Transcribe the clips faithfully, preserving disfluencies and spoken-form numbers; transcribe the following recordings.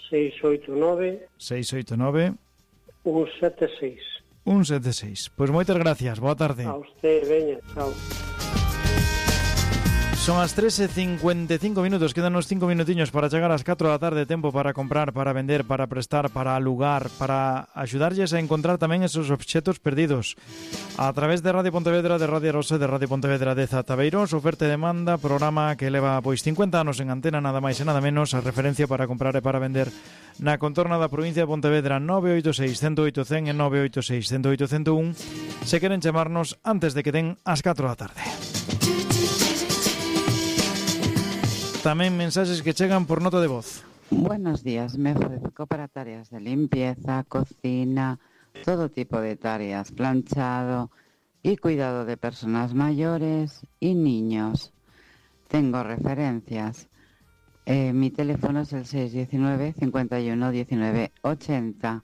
seis oito nove seis oito nove un sete seis. un sete seis. Pois moitas gracias, boa tarde. A usted, veña, chao. Son as tres e cincuenta e cinco minutos, quedan uns cinco minutiños para chegar ás catro da tarde, tempo para comprar, para vender, para prestar, para alugar, para axudarlles a encontrar tamén esos obxetos perdidos. A través de Radio Pontevedra, de Radio Rosa, de Radio Pontevedra de Zataveiros, oferta e demanda, programa que leva pois cincuenta anos en antena, nada máis e nada menos, a referencia para comprar e para vender na contorna da provincia de Pontevedra. Nove oito seis, cento oito, cen e nove oito seis, cento oito, cento un se queren chamarnos antes de que den as catro da tarde. Tamén mensaxes que chegan por nota de voz. Buenos días, me ofrezco para tareas de limpieza, cocina, todo tipo de tareas, planchado y cuidado de personas mayores y niños. Tengo referencias. Eh, mi teléfono es el seis uno nueve, cinco uno, uno nueve, ochenta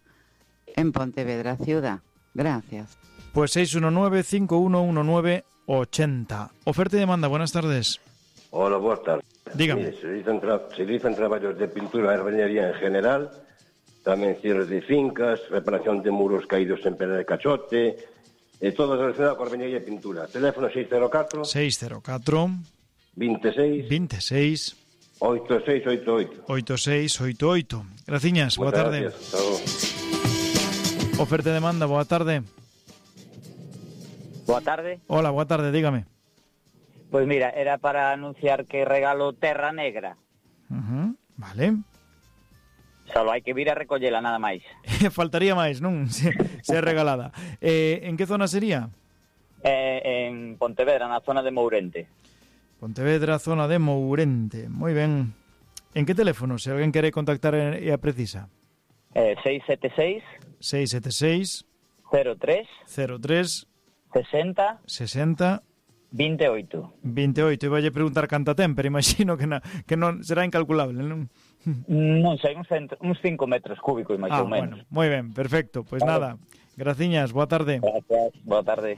en Pontevedra Ciudad. Gracias. Pues seis uno nueve, cinco uno uno nueve, ochenta. Oferta y demanda, buenas tardes. Hola, boas tardes. Dígame. Mire, se realizan, tra se realizan traballos de pintura e albañería en general, tamén cierres de fincas, reparación de muros caídos en pedra de cachote, e todo relacionado con albañería e pintura. Teléfono seis cero catro seis cero catro veintiséis veintiséis oito seis oito oito. oito seis oito oito. Graciñas, boa tarde. Oferta e demanda, boa tarde. Boa tarde. Hola, boa tarde, dígame. Pois mira, era para anunciar que regalo Terra Negra. Uh-huh, vale. Solo hai que vir a recollela, nada máis. Faltaría máis, non? Se, se é regalada. Eh, en que zona sería? Eh, en Pontevedra, na zona de Mourente. Pontevedra, zona de Mourente. Moi ben. En que teléfono, se alguén quere contactar e a precisa? Eh, seis sete seis seis sete seis cero tres cero tres sesenta sesenta veintiocho. veintiocho. Iba a preguntar canta ten, pero imagino que, na, que non será incalculable, non? Non sei, uns, uns cinco metros cúbicos, máis ah, ou menos. Bueno, moi ben, perfecto. Pois pues nada, graciñas, boa tarde. Gracias, boa tarde.